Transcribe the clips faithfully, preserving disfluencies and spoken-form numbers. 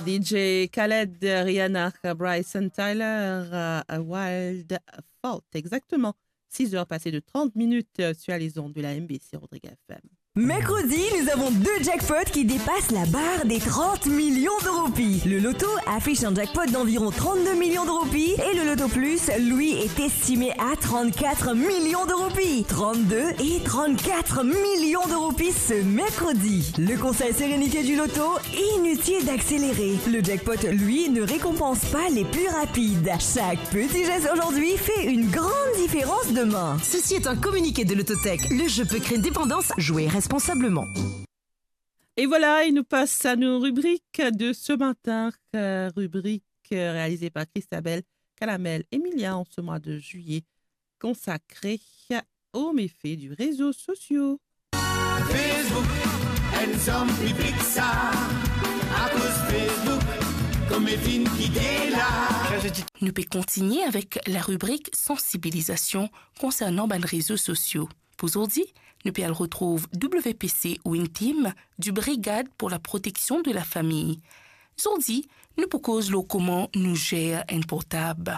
D J Khaled, Rihanna, Bryson Tiller, euh, Wild Thought, exactement. Six heures passées de trente minutes, euh, sur les ondes de la M B C Rodrigues F M. Mercredi, nous avons deux jackpots qui dépassent la barre des trente millions de roupies. Le loto affiche un jackpot d'environ trente-deux millions de roupies et le loto plus, lui, est estimé à trente-quatre millions de roupies. Trente-deux et trente-quatre millions de roupies ce mercredi. Le conseil sérénité du loto, inutile d'accélérer. Le jackpot, lui, ne récompense pas les plus rapides. Chaque petit geste aujourd'hui fait une grande différence demain. Ceci est un communiqué de Lototech. Le jeu peut créer une dépendance. Jouez responsablement. Et voilà, il nous passe à nos rubriques de ce matin. Euh, rubrique, euh, réalisée par Christabelle Calamel Emilia en ce mois de juillet, consacrée aux méfaits du réseau social. Facebook, enn zom piblik sa, akoz Facebook, kouma finn kite la. Nou pe kontigne avek la ribrik sansibilizasion konsernan bann rezo sosio. Pou zordi, nou pe al retrouv W P C Win Team di Brigad pour la Protection de la Famille. Zordi, nou pou koz lor kouma nou zer enn portab.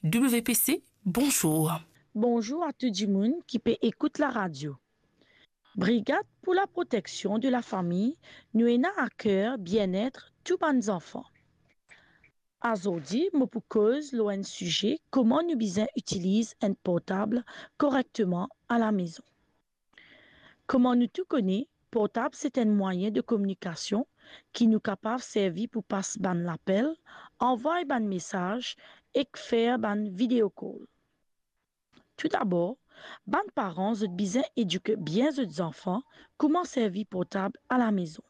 W P C, bonzour. Bonzour a tou dimoun ki pe ekout laradio. Brigad pour la Protection de la Famille, nou ena a ker bienet tou bann zanfan. Azordi, mo pou koz lor enn size, kouma nou bizin itiliz enn portab korekteman alamezon. Kouma nou tou kone, portab se enn mwayin de kominikasion ki nou kapav servi pou pas bann lapel, anvway bann mesaz ek fer bann video call. Toudabor, bann paran, zot bizin edik bien zot zanfan kouma servi portab alamezon.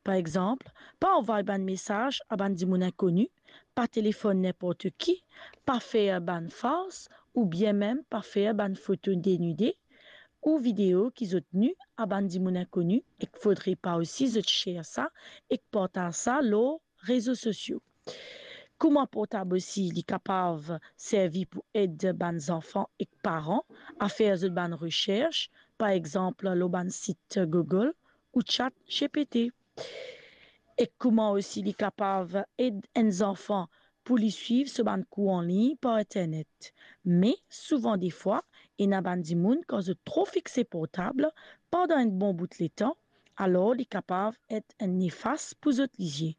Par exanp, pa anvway bann mesaz a bann dimoun inkoni, pa telefonn ninport ki, pa fer bann fars, oubien mem pa fer bann foto denide ou video ki zot ni a bann dimoun inkoni, ek fodre pa osi zot share sa ek partaz sa lor rezo sosio. Kouma portab osi, li kapav servi pou ed bann zanfan ek paran a fer zot bann resers, par exanp, lor bann sit Google ou Chat G P T. Ek kouma osi li kapav ed enn zanfan pou li swiv so bann kour anlign par internet. Me souvan defwa, ena bann dimoun, kan zot tro fixe portab pandan enn bon bout letan, alor li kapav et enn nefas pou zot lizie.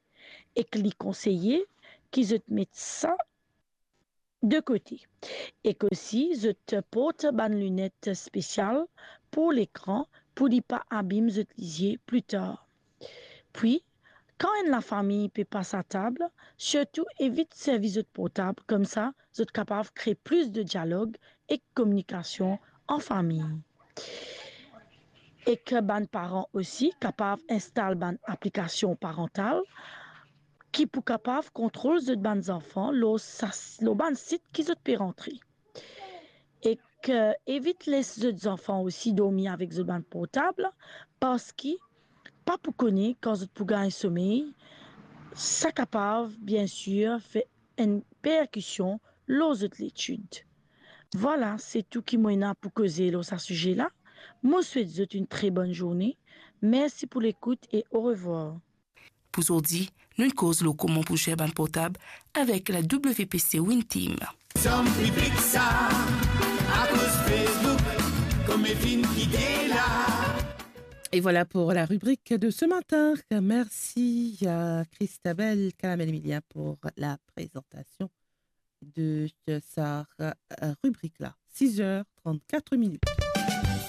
Ek li konseye ki zot met sa de kote. Ek osi, zot port bann linet spesial pou lekran pou li pa abim zot lizie pli tar. Pwi, kan enn lafami pe pas atab, sirtou evit servi zot portab, koumsa zot kapav kre plis de dialog ek kominikasion an fami. Ek bann paran osi kapav instal bann aplikasion parantal ki pou kapav kontrol zot bann zanfan lor sa, lor bann sit ki zot pe rantre. Ek, eh, evit les zot zanfan osi dormi avek zot bann portab, parski pa pou kone kan zot pou gagn somey, sa kapav, biensir, fer enn perkision lor zot letid. Vwala, se tou ki mo ena pou koze lor sa size la. Mo swet zot enn tre bonn zourne. Mersi pou lekout e orevwar. Pou zordi, nou koz lor kouma pou zer bann portab avek la W P C Win Team. Zom piblik sa, akoz Facebook, kouma finn kite la. Et voilà pour la rubrique de ce matin. Merci à Christabelle Calamel Emilia pour la présentation de sa, euh, rubrique-là. Six heures trente-quatre minutes.